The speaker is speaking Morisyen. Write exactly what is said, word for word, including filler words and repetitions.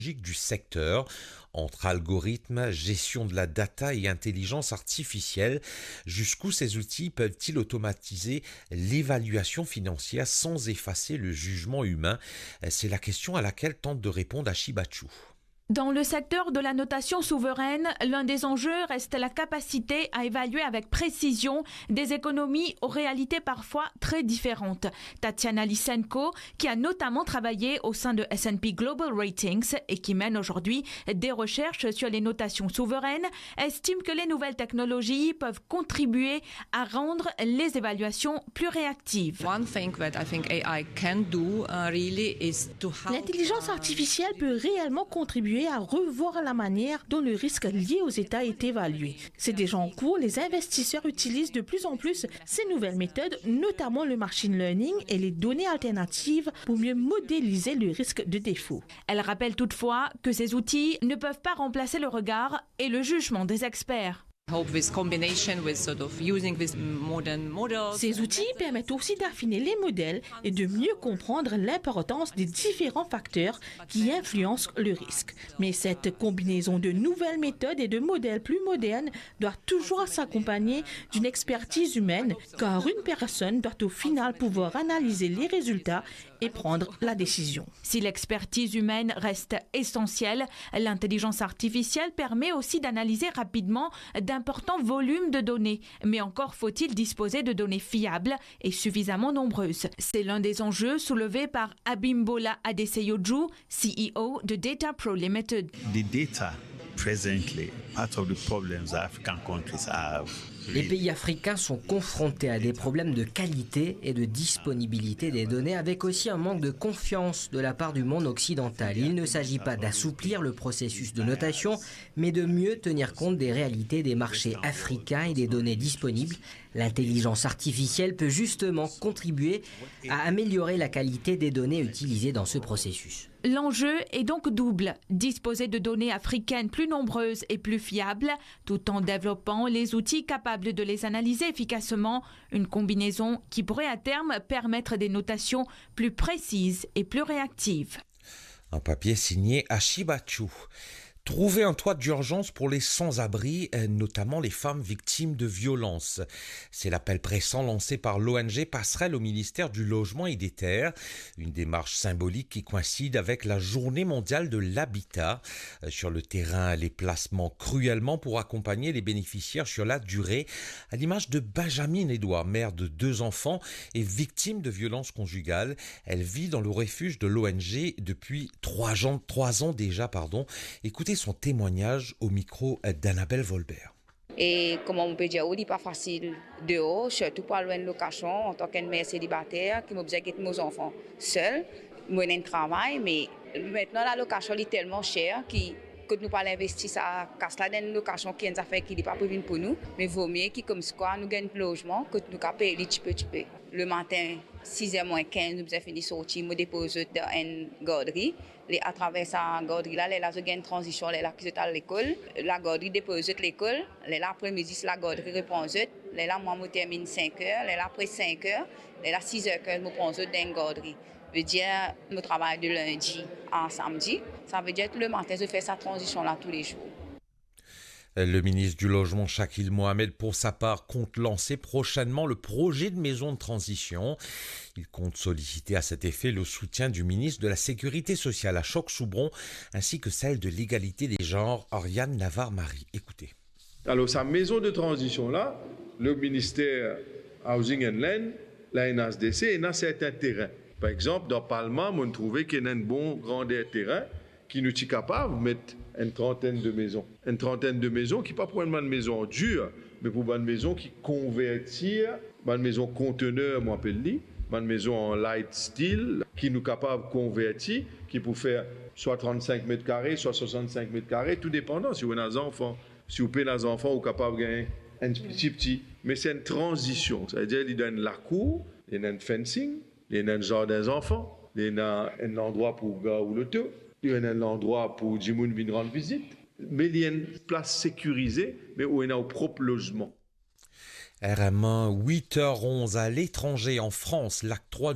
technologiques du secteur, entre algorithmes, gestion de la data et intelligence artificielle. Jusqu'où ces outils peuvent-ils automatiser l'évaluation financière sans effacer le jugement humain ? C'est la question à laquelle tente de répondre Ashi Bachiou. Dans le secteur de la notation souveraine, l'un des enjeux reste la capacité à évaluer avec précision des économies aux réalités parfois très différentes. Tatiana Lysenko, qui a notamment travaillé au sein de S and P Global Ratings et qui mène aujourd'hui des recherches sur les notations souveraines, estime que les nouvelles technologies peuvent contribuer à rendre les évaluations plus réactives. One thing that I think A I can do, uh, really is to help, L'intelligence uh, artificielle peut réellement contribuer à revoir la manière dont le risque lié aux États est évalué. C'est déjà en cours, les investisseurs utilisent de plus en plus ces nouvelles méthodes, notamment le machine learning et les données alternatives pour mieux modéliser le risque de défaut. Elle rappelle toutefois que ces outils ne peuvent pas remplacer le regard et le jugement des experts. Hope with combination with sort of using this modern models. Ces outils permettent aussi d'affiner les modèles et de mieux comprendre l'importance des différents facteurs qui influencent le risque. Mais cette combinaison de nouvelles méthodes et de modèles plus modernes doit toujours s'accompagner d'une expertise humaine, car une personne doit au final pouvoir analyser les résultats et prendre la décision. Si l'expertise humaine reste essentielle, l'intelligence artificielle permet aussi d'analyser rapidement d'importants volumes de données. Mais encore faut-il disposer de données fiables et suffisamment nombreuses. C'est l'un des enjeux soulevés par Abimbola Adeseyoju, C E O de Data Pro Limited. The data presently, part of the problems that African countries have. Les pays africains sont confrontés à des problèmes de qualité et de disponibilité des données, avec aussi un manque de confiance de la part du monde occidental. Il ne s'agit pas d'assouplir le processus de notation, mais de mieux tenir compte des réalités des marchés africains et des données disponibles. L'intelligence artificielle peut justement contribuer à améliorer la qualité des données utilisées dans ce processus. L'enjeu est donc double, disposer de données africaines plus nombreuses et plus fiables, tout en développant les outils capables de les analyser efficacement, une combinaison qui pourrait à terme permettre des notations plus précises et plus réactives. Un papier signé Ashi Bachiou. Trouver un toit d'urgence pour les sans-abri, euh, notamment les femmes victimes de violences. C'est l'appel pressant lancé par l'O N G Passerelle au ministère du Logement et des Terres. Une démarche symbolique qui coïncide avec la Journée mondiale de l'habitat. Euh, sur le terrain, les placements cruellement pour accompagner les bénéficiaires sur la durée. À l'image de Benjamin Edouard, mère de deux enfants et victime de violences conjugales. Elle vit dans le refuge de l'O N G depuis trois ans, trois ans déjà, pardon. Écoutez son témoignage au micro d'Annabelle Volbert. E kouma mo pe dir ou, li pa fasil deor, sirtou pou al lwe enn lokasion antan ki enn mer selibater, ki mo bizin get mo zanfan sel. Mo ena enn travay, me aster lalokasion li telman ser ki kot nou pou al investi sa kas la dan enn lokasion ki enn zafer ki li pa pou vinn pou nou, me vomie ki koumsa nou gagn lozman kot nou kapav pey li tipe tipe. Lematin, siz er mwin kinz, nou bizin fini sorti, mo depoz zot dan enn gardri. Le atraver sa gardri la, lerla zot gagn tranzision, lerla ki zot al lekol. Lagardri depoz zot lekol, lerla apre midi, lagardri repran zot. Lerla mwa mo terminn sink er, lerla apre sink er, lerla siz er kinz mo pran zot dan enn gardri. Vedir, mo travay de lindi a samdi. Savedir lematin, zot fer sa tranzision la toulezour. Le ministre du Logement, Shakil Mohamed, pour sa part, compte lancer prochainement le projet de maison de transition. Il compte solliciter à cet effet le soutien du ministre de la Sécurité sociale, Ashok Soubron, ainsi que celle de l'égalité des genres, Ariane Navarre-Marie. Écoutez. Alor, sa maison de transition la, le ministère Housing and Land, la N H D C, ena sertin terin. Par exanp, dan Palma, mo trouve ki ena enn bon grander terin, ki nou ti kapav met enn trantenn de mezon. Enn trantenn de mezon ki pa pou enn bann mezon an dir, me pou bann mezon ki konvertir, bann mezon kontener, mo apel li, bann mezon an light steel, ki nou kapav konverti, ki pou fer swa trannsink met kare, swa swasanntsink met kare, tou depandan si ou ena zanfan. Si ou pena zanfan, ou kapav gagn enn pti pti. Me se enn tranzision, savedir li dan enn lakour, li ena enn fencing, li ena enn zardin zanfan, li ena enn landrwa pou gar ou loto, li ena enn landrwa pou dimoun vinn rann vizit, me li enn plas sekirize, me ou ena ou prop lozman. R M un, huit heures onze à l'étranger, en France, l'acte trois